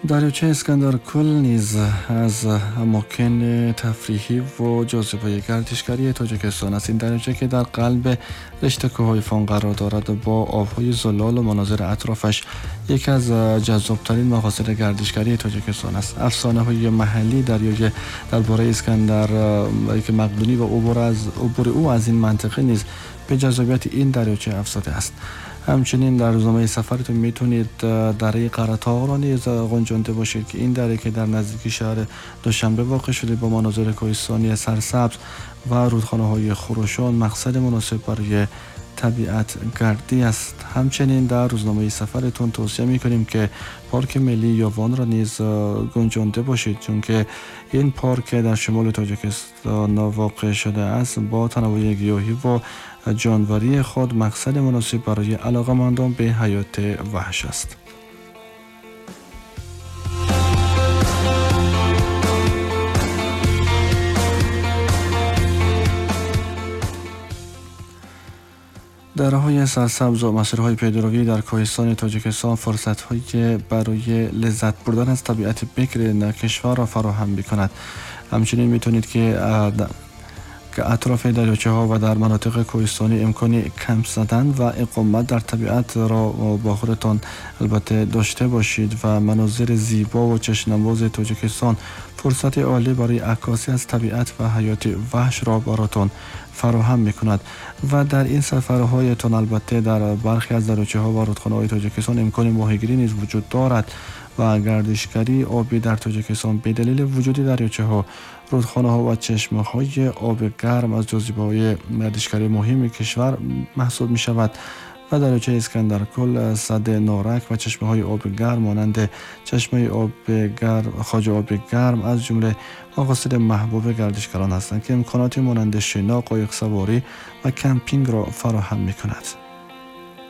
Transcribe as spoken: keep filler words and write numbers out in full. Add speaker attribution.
Speaker 1: دریاچه اسکندرکل نیز از اماکن تفریحی و جاذبه گردشگری تاجیکستان است. این دریاچه که در قلب رشته کوه‌های فان قرار دارد، با آب‌های زلال و مناظر اطرافش یکی از جذاب‌ترین مقاصد گردشگری تاجیکستان است. افسانه‌های محلی دریای درباره اسکندر که مقدونی و عبور از عبور او از این منطقه نیز به جذابیت این دریاچه افزوده است. همچنین در روزنامه سفرتون میتونید دره قره‌طاغ را نیز گنجانده باشید که این دره که در نزدیکی شهر دوشنبه واقع شده با مناظر کوهستانی سرسبز و رودخانه‌های خروشان مقصد مناسب برای طبیعت گردی است. همچنین در روزنامه سفرتون توصیه میکنیم که پارک ملی یاوان را نیز گنجانده باشید، چون که این پارک در شمال تاجیکستان واقع شده است با تنوع گیاهی و جانوری خود مقصد مناسب برای علاقه‌مندان به حیات وحش است. دره‌های سرسبز و مسیرهای پیاده‌روی در کوهستان تاجیکستان فرصت‌هایی برای لذت بردن از طبیعت بکر کشور را فراهم می‌کند. همچنین می‌تونید که که اطراف دریاچه‌ها و در مناطق کوهستانی امکان کمپ زدن و اقامت در طبیعت را با خودتان البته داشته باشید و مناظر زیبا و چشم‌نواز تاجیکستان فرصت عالی برای عکاسی از طبیعت و حیات وحش را براتان فراهم می‌کند. و در این سفرهایتان البته در برخی از دریاچه‌ها و رودخانه‌های تاجیکستان امکان ماهیگیری نیز وجود دارد و گردشگری آبی در تاجیکستان به دلیل وجود دریاچه‌ها، رودخانه‌ها و چشمه‌های آب گرم از جاذبه‌های گردشگری مهم کشور محسوب می‌شود و دریاچه اسکندرکل، سد نارک و چشمه‌های آب گرم مانند چشمه آب گرم، خواجه آب گرم از جمله مقاصد محبوب گردشگران هستند که امکاناتی مانند شنا، قایق سواری و کمپینگ را فراهم می‌کند.